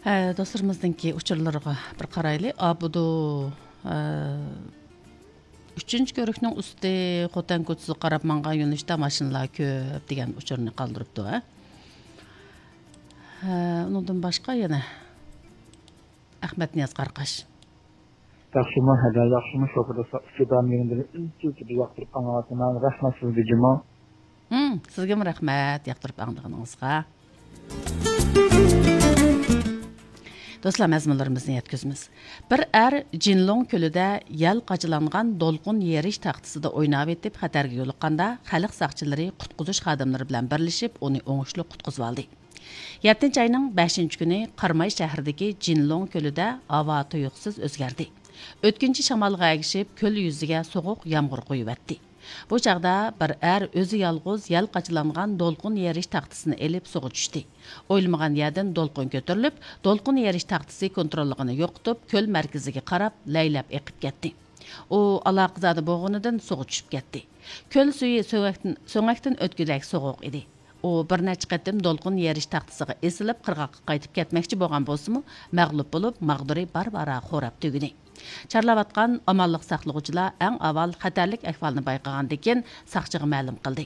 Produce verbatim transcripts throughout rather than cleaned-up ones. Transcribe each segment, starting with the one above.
ھە، دوستلىرىمىزنىڭكى ئۇچۇرلىرىغا بىر قارايلى. ئابدۇ، ئە، ئۈچىنچى كۆۋرۈكنىڭ ئۈستى خوتەن كوچىسىغا قاراپ ماڭغان يۆنىلىشتە ماشىنىلار كۆپ دېگەن ئۇچۇرنى قالدۇرۇپتۇ، ھە. ھە، ئۇنىڭدىن باشقا يەنە ئەخمەت نىياز قاراقاش. ياخشىمۇ، ھەدە، ياخشىمۇ، شوپۇر دوستلار، ئۇچۇر دائىم يېرىمدىن ئۈنسىز بىر ياقتۇرۇپ ئاڭلاۋاتىمەن. رەھمەت سىزگە جۇمۇ. ھىم، سىزگىمۇ رەھمەت، ياقتۇرۇپ ئاڭلىغىنىڭىزغا. دوستلار، مەزمۇنلىرىمىزنى يەتكۈزىمىز. بىر ئەر جىنلۇڭ كۆلىدە يەل قاچىلانغان دولقۇن يېرىش تاختىسىدا ئويناۋېتىپ خەتەرگە يولۇققاندا، خەلق ساقچىلىرى قۇتقۇزۇش خادىملىرى بىلەن بىرلىشىپ ئۇنى ئوڭۇشلۇق قۇتقۇزۇۋالدى. يەتتىنچى ئاينىڭ بەشىنچى كۈنى قاراماي شەھىرىدىكى جىنلۇڭ كۆلىدە ھاۋا تۇيۇقسىز ئۆزگەردى. ئۆتكۈنچى شامالغا ئەگىشىپ، كۆل يۈزىگە سوغۇق يامغۇر قۇيۇۋەتتى. بۇ چاغدا بىر ئەر ئۆزى يالغۇز يەل قاچىلانغان دولقۇن يېرىش تاختىسىنى ئېلىپ سۇغا چۈشتى. ئويلىمىغان يەردىن دولقۇن كۆتۈرۈلۈپ، دولقۇن يېرىش تاختىسى كونتروللۇقىنى يوقىتىپ، كۆل مەركىزىگە قاراپ لەيلەپ ئېقىپ كەتتى. ئۇ ئالاقىزادە بولغىنىدىن سۇغا چۈشۈپ كەتتى. كۆل سۈيى سۆڭەكتىن، سۆڭەكتىن ئۆتكۈدەك سوغۇق ئىدى. ئۇ بىر نەچچە قېتىم دولقۇن يېرىش تاختىسىغا ئېسىلىپ، قىرغاققا قايتىپ كەتمەكچى بولغان بولسىمۇ، مەغلۇپ بولۇپ، ماغدۇرى بارا-بارا خوراپ تۈگىدى. چارلاۋاتقان ئامانلىق ساقلىغۇچىلار ئەڭ ئاۋۋال خەتەرلىك ئەھۋالنى بايقىغاندىن كېيىن، ساقچىغا مەلۇم قىلدى.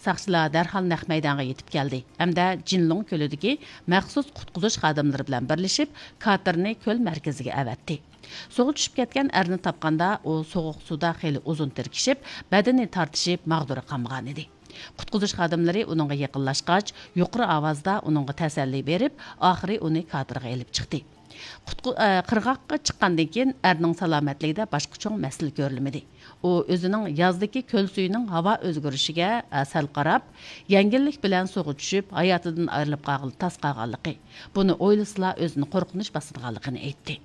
ساقچىلار دەرھال نەق مەيدانغا يېتىپ كەلدى ھەمدە جىنلۇڭ كۆلىدىكى مەخسۇس قۇتقۇزۇش خادىملىرى بىلەن بىرلىشىپ، كاتېرنى كۆل مەركىزىگە ئەۋەتتى. سۇغا چۈشۈپ كەتكەن ئەرنى تاپقاندا، ئۇ سوغۇق سۇدا خېلى ئۇزۇن تىركىشىپ، بەدىنى تارتىشىپ، ماغدۇرى قانمىغانىدى. قۇتقۇزۇش خادىملىرى ئۇنىڭغا يېقىنلاشقاچ، يۇقىرى ئاۋازدا ئۇنىڭغا تەسەللى بېرىپ، ئاخىرى ئۇنى كاتېرغا ئېلىپ چىقتى. قۇتقۇ-، ئە، قىرغاققا چىققاندىن كېيىن، ئەرنىڭ سالامەتلىكىدە باشقا چوڭ مەسىلە كۆرۈلمىدى. ئۇ ئۆزىنىڭ يازدىكى كۆل سۈيىنىڭ ھاۋا ئۆزگىرىشىگە، ئە، سەل قاراپ، يەڭگىللىك بىلەن سۇغا چۈشۈپ، ھاياتىدىن ئايرىلىپ قالغىلى تاس قالغانلىقى، بۇنى ئويلىسىلا ئۆزىنى قورقۇنچ باسىدىغانلىقىنى ئېيتتى.